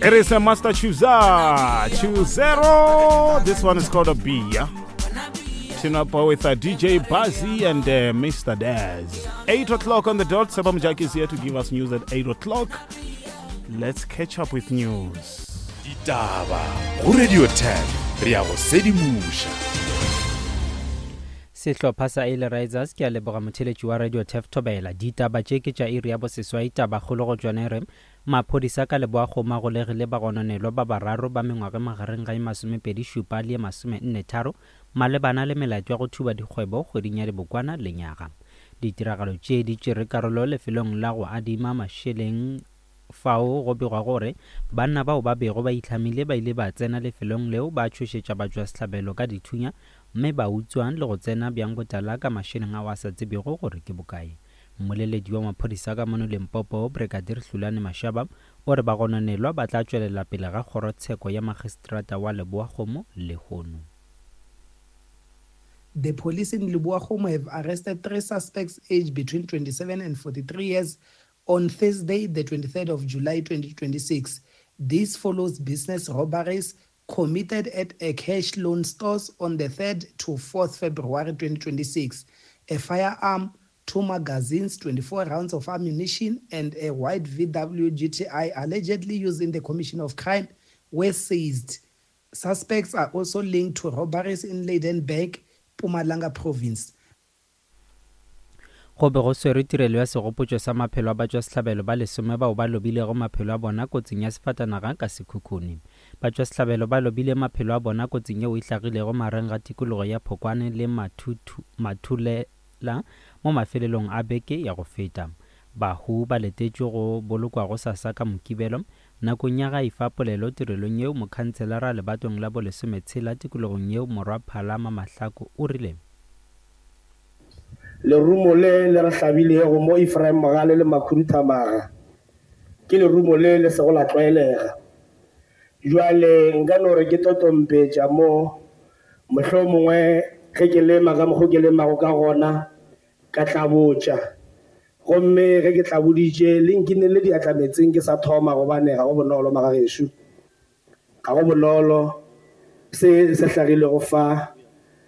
It is a master chooser. Chooser. This one is called a B. Yeah? Team up with DJ Buzzy and Mr. Daz. 8 o'clock on the dot. Seba Mujaki is here to give us news at 8 o'clock. Let's catch up with news. Ditaba go Radio 10 re ya go sedimoša. Sehlopha sa Early Risers ke a leboga motheletši wa Radio Turf Thobela. Ditaba tše ke tša iri ya boseswai tabakgolo go tšona e re maphodisa ka Leboakgomo a golegile bagononelwa ba bararo ba mengwaga e magareng ga e masomepedi šupa le e masomenne tharo malebana le melato ya go thuba dikgwebo kgweding ya Dibokwana lenyaga. Ditiragalo tše di tšere karolo lefelong la go adima mašeleng fao go begwa gore banna bao ba bego ba itlhamile ba ile ba tsena lefelong leo ba tšhošetša batšwasehlabelo ka dithunya mme ba utswa le go tsena bjang botala ka mašeleng ao a sa tsebego gore ke bokae. Mmoleledi wa maphodisa ka mono Limpopo, Brigadier Hlulani Mashaba, o re bagononelwa ba tla tšwelela pele ga kgorotsheko ya magistrata wa Leboakgomo lehono. The police in Lebowakgomo have arrested three suspects aged between 27 and 43 years on Thursday, the 23rd of July 2026. This follows business robberies committed at a cash loan stores on the 3rd to 4th February 2026. A firearm, two magazines, 24 rounds of ammunition, and a white VW GTI allegedly used in the commission of crime were seized. Suspects are also linked to robberies in Lydenburg, Mpumalanga province. Go be go swerwe tirelo ya segopotšo sa maphelo a batšwasehlabelo ba lesome bao ba lobilego maphelo a bona kotsing ya sefatanaga ka Sekhukhune. Batšwasehlabelo ba lobile maphelo a bona kotsing yeo e hlagilego magareng ga tikologo ya Phokwane le Mathulela mo mafelelong a beke ya go feta. Bahu ba letetšwe go bolokwa gosasa ka Mokibelo. Nakong ya ga efa polelo tirelong yeo, mokhantshelara lebatong la bolesometshela tikologong yeo Morwa Phala Mamahlako o rile. Lerumo le le re hlabilego mo Ephraim Mogale le Makhuduthamaga ke lerumo le le sego la tlwaelega. Bjale nka no re ke totompetša mo, mohlomongwe ge ke lema ka mokgo ke lemago ka gona, ka tlabotša. Gomme ge ke tlaboditše, le nkinele diatla meetseng ke sa thoma, gobane ga go bonolo, magagešo. Ga go bonolo se se hlagilego fa.